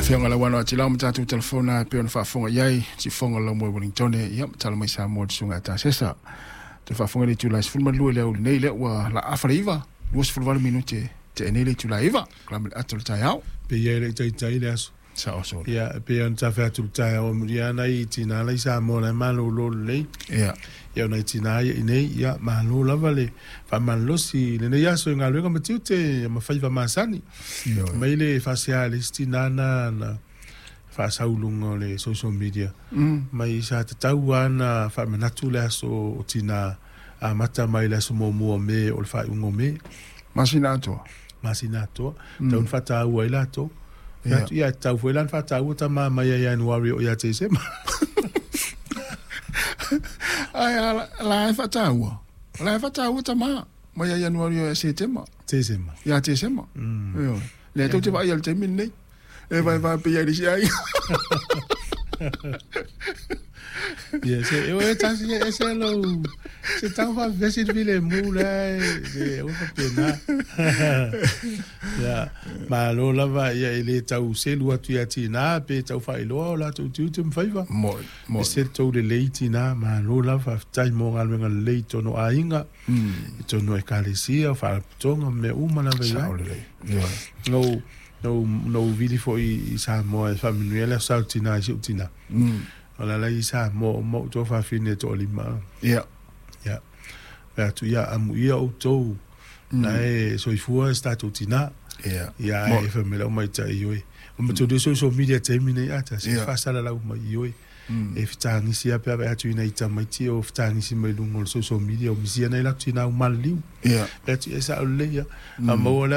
Afioga Lauano Atilau ma tatou telefona e pei ona faafofoga i ai siufofoga o le laumua i Wellingtone, ia ma tala mai Samoa i le susuga ia Tasesa. Toe faafofoga i le itula e 12 i le aoauli nei, lea ua laafa le 9, 28 minute tea nei le itula e 9, kalame le ata o le taeao. Pei e le i taitai le aso. Sao solo. Ia, e pei ona tafe atu i le taeao amulia nai tina la i Samoa la e malolo lelei. Ia. Ia, o nai tina ia i nei, ia, malo lava le faamalolosi i lenei aso i galuega ma tiute ma faiva masani. Ioe. Mai le faasea a le isi tina na na faasau i luga o le social media. Mai sa tatau lava ona faamanatu le aso o tina amata mai le aso muamua o Me o le faaiuga o Me. Masina atoa. Masina atoa. Tatau ona faataua ai latou. Ia, ia tatau foi la ona faataua tama mai ia Ianuari o ia Tesema. Ai, la e faataua. La e faataua tama mai ia Ianuari o ia Setema. Tesema. Ia Tesema. Ioe. Lea tou te vaai i le taimi lenei. E vai vai pe ia i le isi aiga. Ia, se, e tasi e se lou, se tau faavesi le filemu la e, se, aua faapena. Ia, malo lava, ia, e le tau selu atu ia tina, pe tau faailoa o latou tiute ma faiva. Moi, moi. E se tou lelei tina, malo lava, faafetai mo galuega lelei i tonu o aiga, i tonu o ekalesia, o faalapotopotoga, ma mea uma lava i ai. Sao lelei. Ioe. Nou, nou, nou vili foi i Samoa e faamanuia le aso sa o tina i si ou tina. O le ala i Samoa uma ou tuafafine e toalima. Ia. Ia. Fai atu, ia, amuia outou, na e soifua se tatou tina. Ia. Ia, ae fai mai lau maitai, ioe. O matou le social media taimi nei ata, se faasalalau mai, ioe. E fetagisi lava pe a vaai atu i nai tamaiti o fetagisi mai luga o le social media o misia nai latou tina ua maliliu. Ia. Fai atu, ia e sao lelei lava. A maua le